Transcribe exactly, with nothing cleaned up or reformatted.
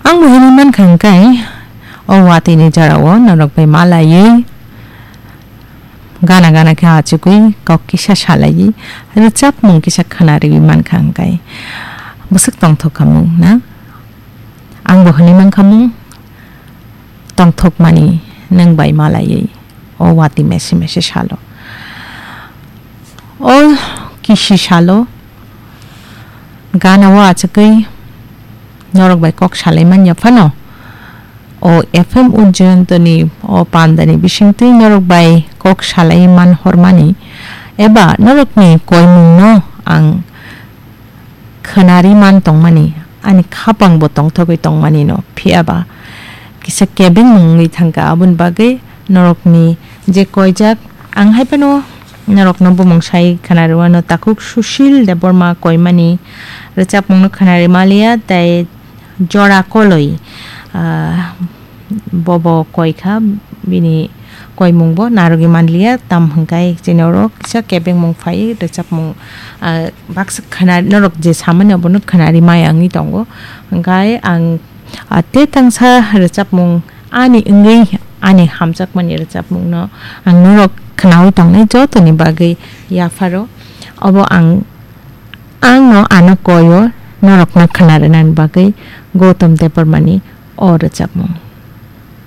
Ang bo hinwi mankha hwnkhe, o watwi ni jora o norok bai malaiwi gana gana khe achugwi kok kisa salaiwi rwchapmung kisa khwnariwi mankha hwnkhe bwswk tongthok kha mung na? Ang bo hinwi mankha mung tongthokmani nwng bai malaiwi o watwi mese mese salo. O kisi salo gana o achugwi norok bai kok salai manya phano, o F M Ujjayantani o pandani bisingtwi norok bai kok salai man hormani eba norokni koimungno ang khwnari man tongmani, ani khapang bo tongthogwi tongmani no, phiya ba kisa kebengmung wngwi thangkha. Aboni bagwi norokni je koijak, ang hai phano norokno bumung sai khwnari wano, takhuk Sushil Debbarma koimani rwchapmungno khwnari maliya, tei Jora Koloi, ah, bobo koi kha, bini koimung bo narwgwi manliya, tam hwnkhe chini oro kisa kebengmung phai rwchapmung, ah, baksa khwna norok je samani abono khwnari maya wngwi tongo. Hwnkhe ang, ah, tei tangsa rwchapmung ani wngwi ani hamjakmani rwchapmungno ang norok khwnawi tongnai jotoni bagwi yapharo. Obo ang, ang no ano koi o norokno khwna rwnani bagwi Gautam Debbarmani o rwchapmung.